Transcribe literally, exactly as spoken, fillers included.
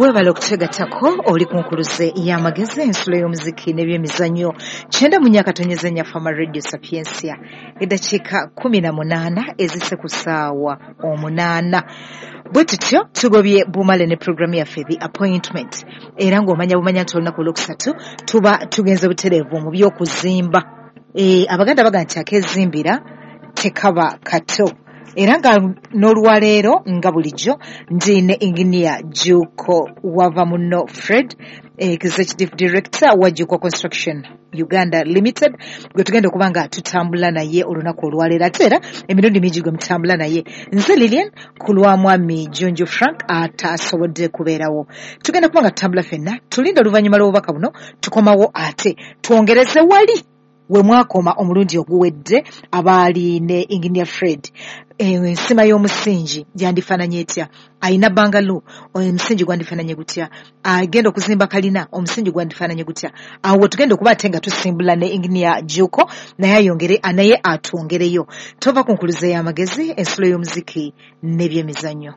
Weebale okutegatako oli ku nkuluze y'amagezi, ensulo y'omuziki n'ebyemizannyo, kyenda mu nnya akatonyeza nnya Fama Radio Sapiensia. Eddakiika kumi na munaana ezise ku ssaawa omunaana. Bwe tutyo tugobye bumale ne puroguramu yaffe The Appointment, era ng'omanya bumanya nti olunaku olwokusatu tuba tugenze butereevu mu by'okuzimba. E, Abaganda baga nti akezimbira tekaba kato. Era nga n'olwaleero nga bulijjo ndi ne Engineer Juko wava muno Fred, Executive Director wa Juko Construction Uganda Limited, gwe tugenda okuba nga tutambula naye olunaku olwaleero, ate era emirundi mingi gwe mutambula naye. Nze Lilian ku lwa mwami Junju Frank atasobodde kubeerawo. Tugenda kuba nga tutambula ffenna, tulinde oluvannyuma lw'obubaka buno tukomawo ate twongereze wali we mwakoma omulundi oguwedde abaali ne Engineer Fred. Ensima y'omusingi yandifaananye etya? Ayina bangalo, omusingi gwandifaananye gutya? Agenda okuzimba kalina, omusingi gwandifaananye gutya? Awo tugenda okuba ate nga tusimbula ne Engineer Juko, naye ayongere naye atwongereyo. Tova ku nkuluze y'amagezi, ensulo y'omuziki n'ebyemizannyo.